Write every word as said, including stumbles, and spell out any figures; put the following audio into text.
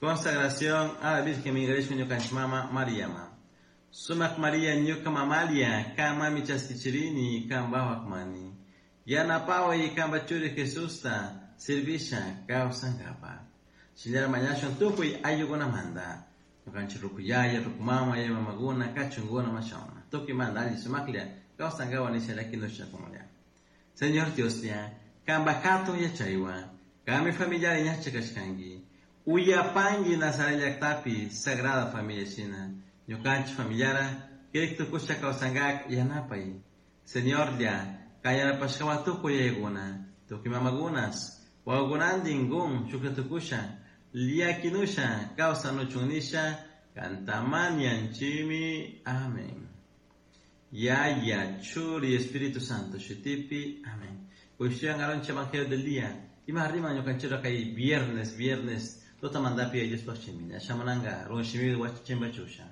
Consagración a la Virgen Miguel ñukanchik mama Mariama. Sumak Maria ñuka mamalia, kanmanmi chaskichirini kanpawak mani. Yanapaway kanpa churi Jesusta servisha kawsankapak. Shinallara mañashun tukuy ayllukunamanta. Ñukanchik ruku yaya, ruku mama, yaya mamakuna, kachunkuna, mashawna. Tukuymanta alli sumaklla kawsankapak nisha llakinushakunlla. Señor Dioslla, kanpa hatun yachaywan, kanmi familiari ñacha kashkanki. Uyapanki Nazaret llaktapi Sagrada Familia shina. Ñukanchik familiara kirik tukusha kawsankak yanapay. Señorlla, kan yanapashkawan tukuy yayakuna, tukuy mamakunas, wawakunantin kun shuklla tukusha, llakinusha kawsanuchun nisha, kanta mañanchimi. Amén. Yaya, Churi, Espíritu Santo, shutipi. Amén. Kushiyan aroncha Evangelio del día. Ima rima ñukanchira kay viernes, viernes, tutamantapi Diospaj shimi. Shamunanga, run shimi wachimba chusha.